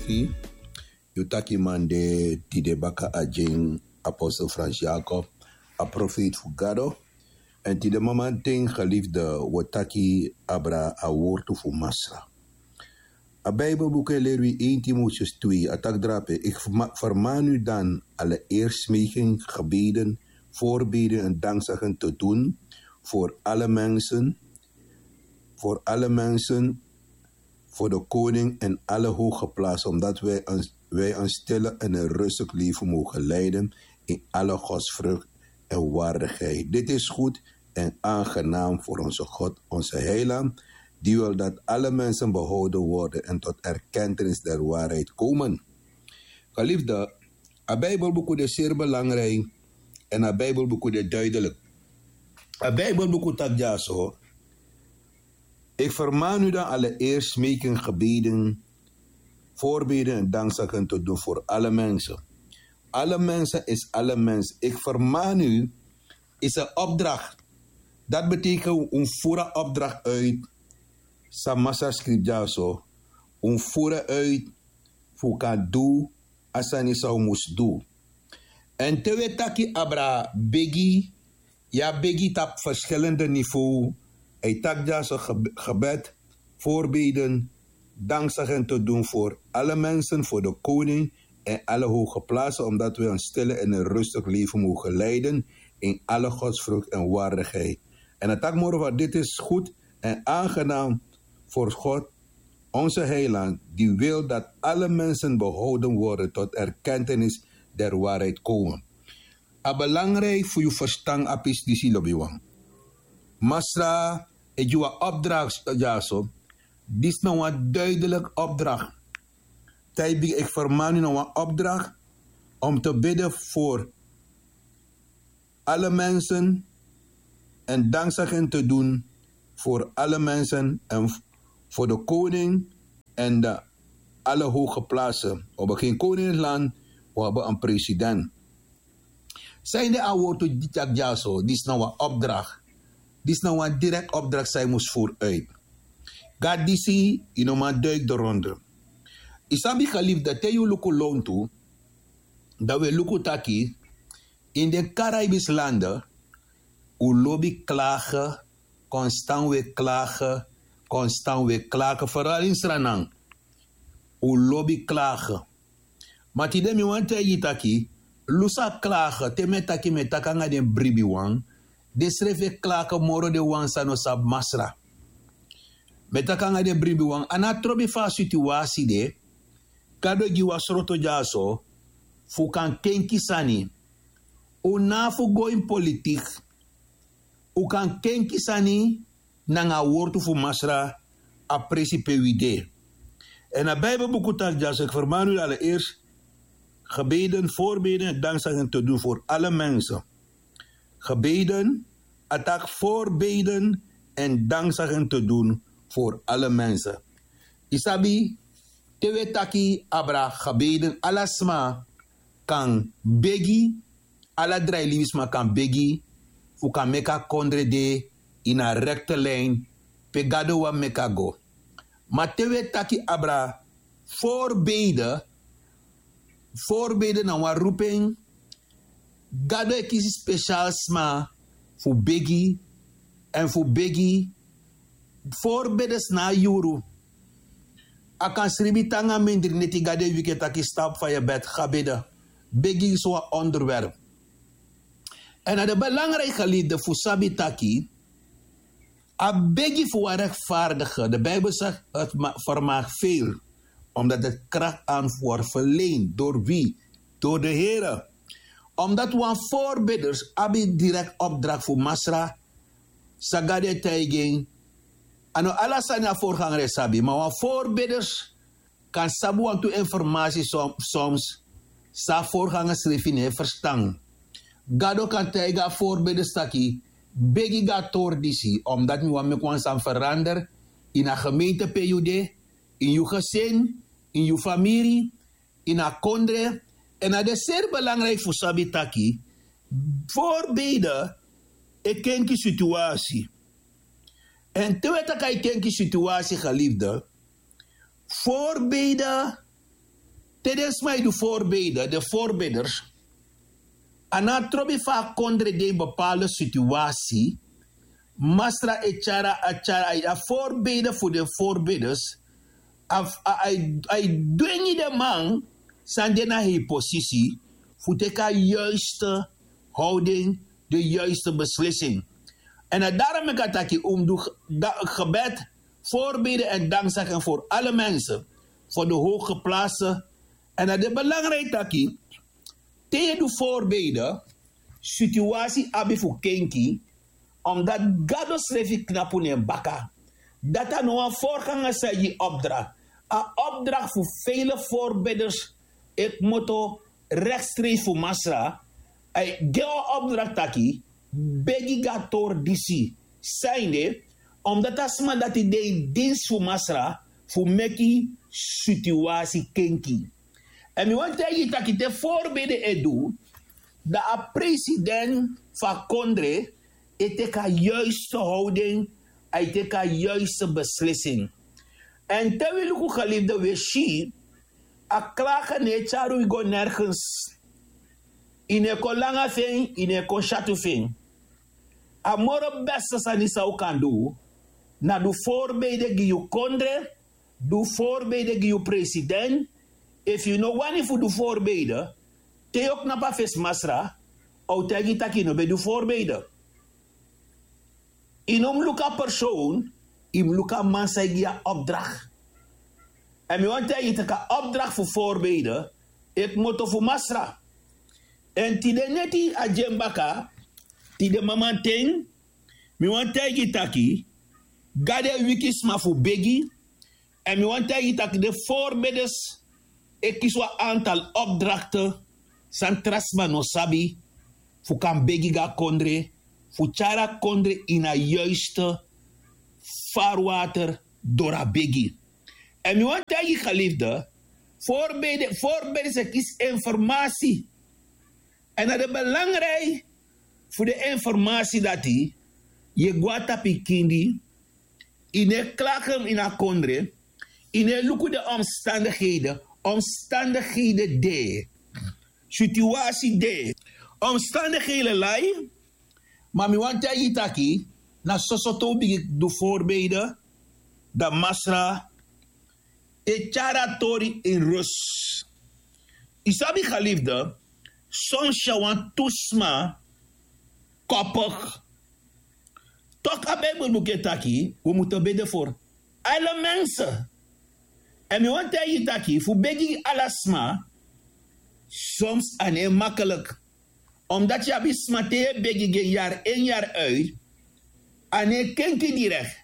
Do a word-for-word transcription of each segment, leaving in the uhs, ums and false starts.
Yu taki man de tide baka a dyen, apostel Frans Jakob, a profeet fu Gado. Èn tide mamanten, geliefde, wi o taki abra a wortu fu Masra. A Bijbelbuku e leri wi, één Timotheus twee, a taki drape: Ik verma-, vermaan u dan allereerst smeken, gebeden, voorbeden en dankzeggen te doen voor alle mensen, voor alle mensen, voor de koning en alle hooggeplaatsten, omdat wij een, wij een stille en een rustig leven mogen leiden in alle godsvrucht en waardigheid. Dit is goed en aangenaam voor onze God, onze Heiland, die wil dat alle mensen behouden worden en tot erkentenis der waarheid komen. Geliefde, a Bijbelbuku de zeer belangrijk en a Bijbelbuku de duidelijk. A Bijbelbuku taki dyaso: Ik vermaan u dan allereerst smeken, gebeden, voorbeden en dankzeggen te doen voor alle mensen. Alle mensen is alle mensen. Ik vermaan u is een opdracht. Dat betekent un fura opdracht uit. San Masra skrifi dyaso, un fura uit fu kan du a sani san un mus du. Èn te wi e taki abra begi, yu abi begi tapu verschillende niveau. A e taki dyaso geb-, gebed, voorbeden, dankzeggen te doen voor alle mensen, voor de koning en alle hooggeplaatsten, omdat wij een stille en een rustig leven mogen leiden in alle godsvrucht en waardigheid. En a taki moro fa: Dit is goed en aangenaam voor God, onze Heiland, die wil dat alle mensen behouden worden tot erkentenis der waarheid komen. A belangrijk fu yu verstan a pisi disi, lobiwan. Masra e gi wan opdracht dyaso. Disi na wan duidelijk opdracht. Te a e bigin: Ik vermaan u, na wan opdracht om te bidden voor alle mensen en dankzeggen te doen voor alle mensen en v-, voor de koning en de alle hooggeplaatsten. We hebben geen koning in het land, we hebben een president. San de a wortu di taki dyaso? Disi na wan opdracht. Disi na wan direct opdracht san yu mus voer uit. Gado disi, yu no man duik de ronde. Yu sabi, geliefde, te yu luku lontu, dan wi e luku taki in den Caribische landen, un lobi klagen, konstan wi e klagen, konstan wi e klagen, vooral in Sranan. Un lobi klagen. Ma tide mi wani taigi yu taki, lusu a klagen, te mi e taki, mi e taki nanga den bribiwan, den srefi e klagen moro, den wan san no sabi Masra. Mi e taki nanga den bribiwan, a no trobi fu a situasi de, Gado gi wi a sroto dyaso fu kan kenki sani. Un no abi fu go ini politik. Un kan kenki sani nanga a wortu fu Masra, a presi pe wi de. Èn a Bijbelbuku taki dyaso: Ik vermaan u allereerst gebeden, voorbeden en dankzeggen te doen voor alle mensen. Gebeden, a taki voorbeden en dankzeggen te doen voor alle mensen. Yu sabi, te wi e taki abra gebeden, ala sma kan begi, ala drai libisma kan begi fu kan meki a kondre de ini a rekte lijn pe Gado wani meki a go. Ma te wi e taki abra voorbeden, voorbeden na wan roeping. Gado e kisi speciaal sma fu begi, èn fu begi, voorbeden na a yuru. A kan sribi te nanga mindri neti, Gado e wiki en taki: Sta op van je bed, ga bidden. Begi is wan onderwerp. Èn na de belangrijk, geliefde, fu sabi taki a begi fu wan rechtvaardige, de Bijbel zegt, het ma-, vermag veel, omdat het kracht aan wordt verleend. Door wie? Door de Here. Omdat wan voorbidders abi direct opdracht fu Masra, san Gado e taigi en. A no ala sani a voorganger e sabi, ma wan voorbidders kan sabi wantu informasi som-, soms san a voorganger srefi no e ferstan. Gado kan taigi a voorbidders taki: Begi go na tori disi, omdat mi wani meki wan sani verander ini a gemeente pe yu de, ini yu gezin, ini yu famiri, ini a kondre. Èn na de seri belangrijk fu sabi taki voorbeden e kenki situasi. Èn te wi e taki a e kenki situasi, geliefde, voorbeden Te den sma e du voorbeide, de voorbeiders, a no a trobi fu a kondre de ini bepaalde situasi. Masra e tyari a tyari a voorbeide fu den voorbeiders. A e dwengi den man san de na hei posisi fu teki a yuiste houding, de yuiste beslising. Èn a daro meki a taki un mus du gebed, voorbeden en dankzeggen voor alle mensen, voor de hooggeplaatste. En dat is belangrijk taki te yu du voorbeden, situasi abi fu kenki, omdat Gado srefi knapu na en baka. Dati a no wan voorganger san e gi opdracht. A opdracht fu vele voorbeders, e kmoto rechtstreeks fu Masra. A e gi wan opdracht taki begi gi a tori disi. Sanede, omdat a sma dati de ini dinsi fu Masra fu meki situasi kenki. Èn mi wani taigi yu taki te voorbeden e du, dan a president fu a kondre e teki a yuiste houding, a e teki a yuiste beslising. Èn te wi luku geliefde, wi e si a klage no e tyari wi go nergens. Yu no e kon langa fu en, yu no e kon syatu fu en. A moro beste sani san un kan du, na du voorbeden gi yu kondre, du voorbeden gi yu president. Efu yu no wani fu du voorbeden, te yu o knapu a fesi Masra, a o taigi yu taki yu no ben du voorbeden. Yu no mus luku a persoon, yu mus luku a man san e gi yu a opdracht. Èn mi wani taigi yu taki a opdracht fu voorbeden e kmoto fu Masra. Èn tide neti a gi en baka, tide mamanten, mi wani taigi yu taki Gado e wiki sma fu begi. Èn mi wani taigi yu taki den voorbeders e kisi wan aantal opdrachten san tra sma no sabi, fu kan begi gi a kondre, fu tyari a kondre ini a yuiste vaarwater doro a begi. Èn mi wani taigi yu geliefde, voorbede voorbeders e kisi informasi. Èn na de belangrijk fu de informasi dati, yu e go na tapu yu kindi, yu no e klage ini a kondre, yu no e luku den omstandigheden. Omstandigheden de, situasi de, omstandigheden lai. Ma mi wani taigi yu taki na soso te un bigin du voorbeden, dan Masra e tyari a tori ini rus. Yu sabi geliefde, soms yu a wantu sma koppig. Tok' a Bijbelboek e taki wi mutu bede voor alle mensen. Èn mi wani taigi yu taki fu begi gi ala sma, soms a no e makkelijk. Omdat yu abi sma te yu e begi gi en yari en yari uit, a no e kenki direct.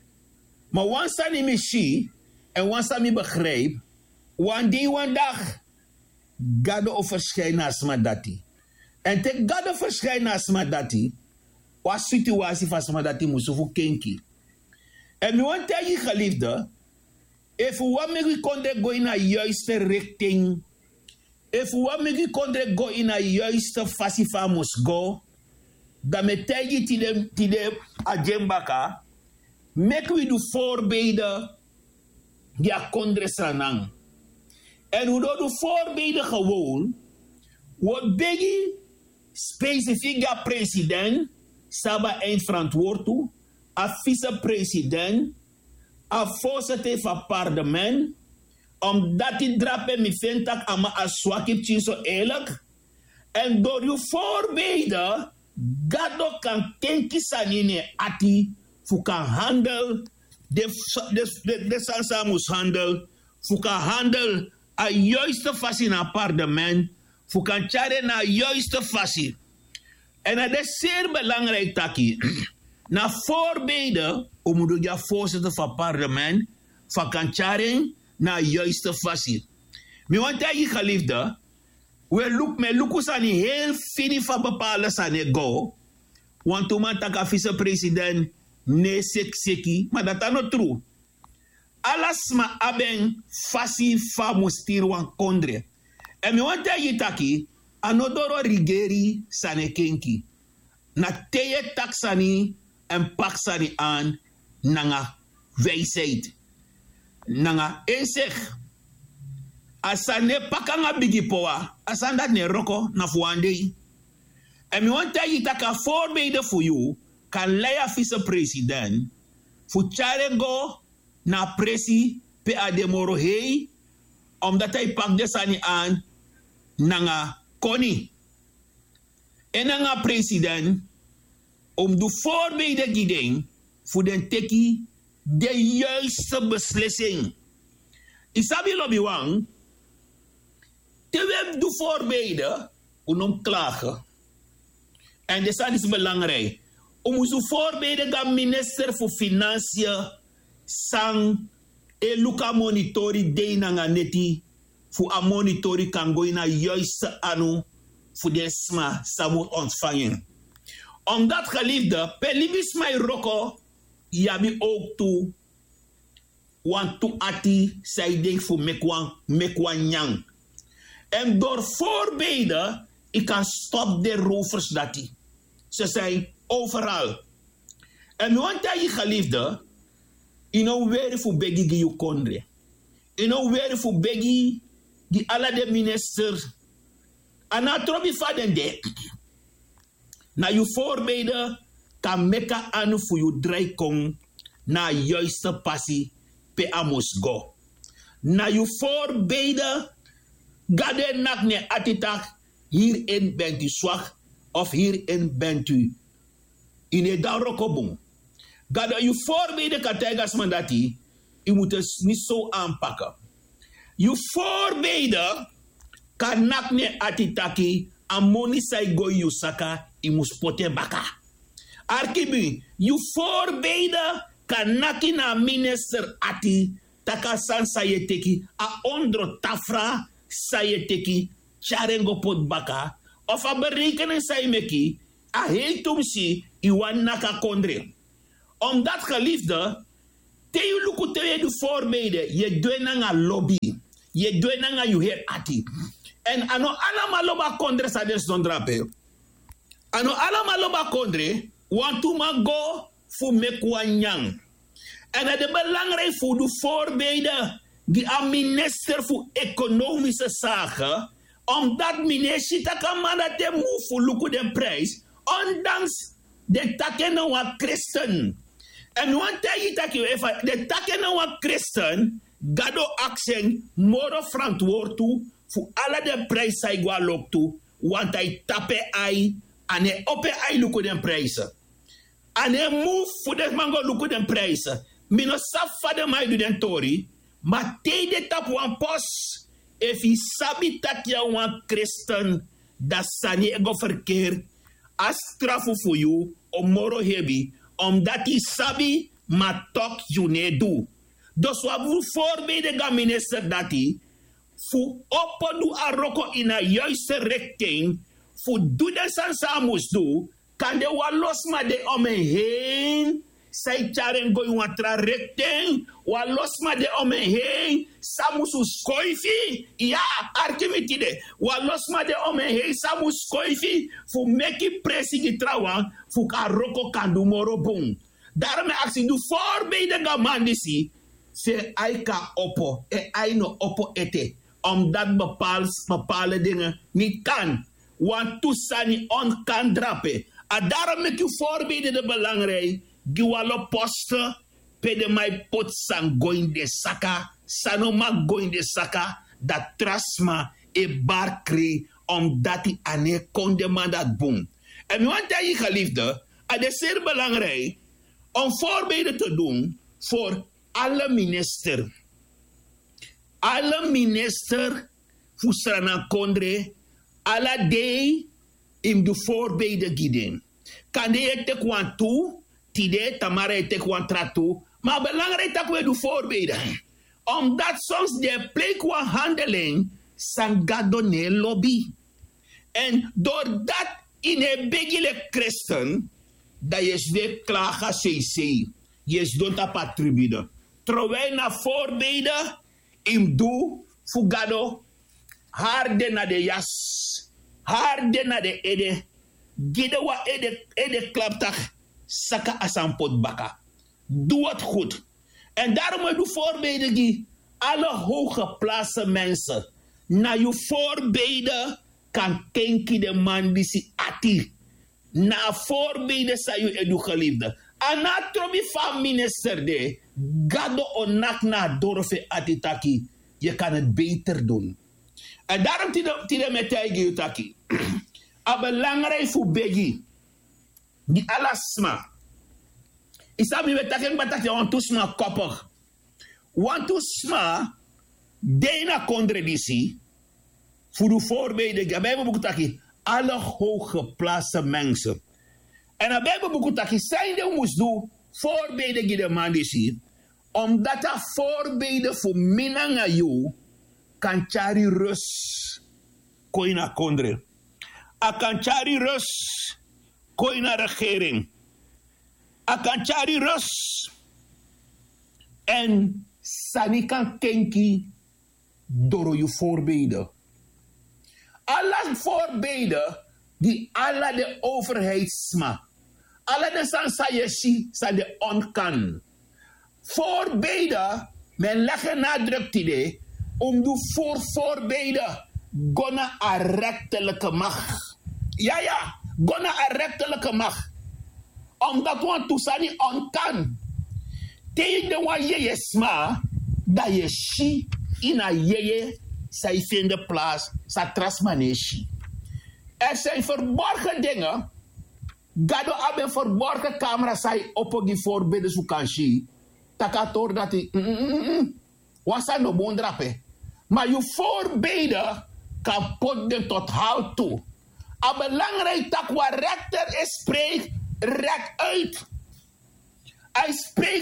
Ma wan sani mi si, èn wan sani mi begrijp, wan dei wan dag Gado o verschijnen na a sma dati. Èn te Gado verschijnen na a sma dati, wan situasi fu a sma dati musu fu kenki. Èn mi wani taigi geliefde, efu wi wani meki wi kondre go ini a yuiste richting, efu wi wani meki wi kondre go ini a yuiste fasi fa a mus go, dan mi e taigi yu tide, tide a gi en baka, meki wi du voorbeden gi a kondre sranan. Èn un no du voorbeden gewoon, wi o begi specifiek gi a president san abi a eindverantwoord tu, a vicepresident, a voorzitter fu a parlement. Omdat yu drape mi feni tak' a man a swaki pikin so eerlijk. Èn dori yu voorbeden Gado kan kenki sani ini en ati, fu kan handel den sani san a mus handel, fu kan handel a yuiste fasi na a parlement, fu kan tyari en na a yuiste fasi. Èn a de seri belangrijk taki na voorbeden un mus du gi a voorzitter fu a parlement, fu a kan tyari en na a yuiste fasi. Mi wani taigi geliefde, wi e luku, mi e luku sani heel fini fa bepaalde sani e go. Wantu man taki a vicepresident no e sekiseki, ma dati a no tru. Ala sma abi en fasi fa a mus stiri wan kondre. Èn mi wani taigi yu taki a no doro rigeri sani e kenki. Na te yu e taki sani èn paki sani an nanga wijsheid, nanga inzicht. A sani no e paka nanga bigi powa. A sani dati no e wroko na fu wan dei. Èn mi wani taigi yu tak' a voorbeide fu yu kan lei a visepresident fu tyari en go na a presi pe a de moro hei, omdati a e paki den sani an nanga koni. En nanga president un mus du voorbeide gi den fu den teki den yuiste beslisi en. Yu sabi lobiwan, te wi e du voorbeide, un no mus klage. Èn den sani disi belangriki. Un mus du voorbeide gi a minister fu finansiën san e luku a monitori dei nanga neti, fu a monitori kan go ini a yuiste anu fu den sma san mus ontfangi en. Omdati geliefde, pe libisma e wroko, yu abi owktu wantu ati san e denki fu meki wan meki wan nyan. Èn dori voorbeide yu kan stop den rovers dati. Ze zijn overal. Èn mi wani taigi yu geliefde, yu no weri fu begi gi yu kondre. Yu no weri fu begi gi ala den minister. A no a trobi fa den de. Na yu voorbeide kan meki a anu fu yu drai kon na a yuiste pasi pe a mus go. Na yu voorbeide, Gado e naki na en ati taki, hierin bent u zwak of hierin bent u, yu no e du a wroko bun. Gado, yu voorbeide kan taigi a sma dati, yu mus en niet zo aanpakken. Yu voorbeide kan naki na en ati taki, a moni san e go ini yu saka, yu mus poti en baka. Arki mi, yu voorbeide kan naki na a minister ati, taki a sani san yu e teki, a ondro tafra san yu e teki, tyari en go poti baka, of a berekening san yu meki, a hei tumsi yu wani naki a kondre. Omdati geliefde, te yu luku te yu e du voorbeide, yu e du en nanga lobi, yu e du en nanga yu heri ati. Èn a no alamala lobi a kondre san den sidon drape. A no alamala lobi a kondre, wantu man go fu meki wan nyan. Èn a de belangriki fu du voorbeide gi a minister fu ekonomische zaken, omdati mi no e si tak' a man dati e move fu luku den prijs, ondanks den taki en na wan kristen. Èn mi wani taigi yu taki efu den taki en na wan kristen, Gado o aksi en moro frantwortu fu ala den prijs san e go a loktu, want a e tapu en ai, a no e opo en ai luku den prijs. A no e move fu den man go luku den prijs. Mi no sabi fa den man e du den tori, ma te yu de tapu wan post, efu yu sabi tak' yu na wan kristen, dan sani e go ferkeri, a strafu fu yu o moro hebi, omdati yu sabi, ma tok' yu no e du. Dus wi abi fu voorbeide gi a minister dati, fu opo du a wroko ini a yuiste richting, fu du den sani san a mus du. Kande wan lo sma de om en heen san e tyari en go ini wan tra richting, wan lo sma de om en heen san musu skoifi. Ya, arki mi tide, wan lo sma de om en heen san mus skoifi fu meki presi gi trawan fu a wroko kan du moro bun. Daarom e aksi du voorbeide gi a man disi, fu en ai kan opo, en ai no opo ete, omdati bepaalde dingen niet kan. Wantu sani on kan drape. A daarom meki yu voorbeide de belangriki, gi wan lo poste pe den man e poti san go ini den saka, san no man go ini den saka, dan tra sma e bari krei, omdati a no e kon den man dati bun. Èn mi wani taigi yu geliefde, a de seri belangriki om voorbeide te du fu ala minister. Ala minister fu Sranan kondre, ala dei yu mus du voorbeide gi den. Kande yu e teki wantu tide, tamara yu e teki wan tra tu, ma a belangriki tak' wi e du voorbeide. Omdati soms den e pleiki wan handeling san Gado no e lobi. Èn dori dati yu no e begi leki kristen, dan yu e sidon e klagi a seisei, yu e sidon tapu a tribune. Terwijl na voorbeide yu mus du fu Gado, hari den na den yasi, hari den na den ede, gi den wan ede, ede klaptak, saka a sani poti baka. Doe het goed. Èn daarom wi e du voorbeide gi ala hoge plaatsen mensen. Na yu voorbeide kan kenki den man disi ati. Na a voorbeide san yu e du geliefde. A no a trobi fu a minister de, gado o naki na a doro fu en ati taki, yu kan het beter dun. En darom tide mi e taigi yu taki a belangrijk fu begi gi ala sma. Yu sabi mi ben taki en kba taki a wantu sma kopig. Wantu sma de ini a kondre disi fu du voorbeide gi a bijbelbuku taki, alle hooggeplaatste mensen. En a bijbelbuku taki san ede un mus du voorbeide gi den man disi. Omdat a voorbeide fu mi nanga yu kan tyari rust kon ini a kondre. A kan tyari rust kon ini a regering. A kan tyari rust. En sani kan kenki doro yu voorbeide. Ala voorbeide gi ala den overheidssma. Ala den sani san yu e si san de onkan. Voorbeide, mi e legi en na a druk tide. Un mus du voorbeide go na a rechterlijke macht. Ya ya, go na a rechterlijke macht. Omdat wantu sani onkan. Te yu de wan yeye sma, dan yu e si ini a yeye san yu fende plaats san tra sma no e si. Er zijn verborgen dingen. Gado abi en verborgen kamera san yu opo gi voorbeide su kan si. Taki a tori dati, wan sani no bun drape. Ma yu voorbeide kan poti den tot haltu. A belangrijk taki wan rechter e spreek rek uit. A e spreek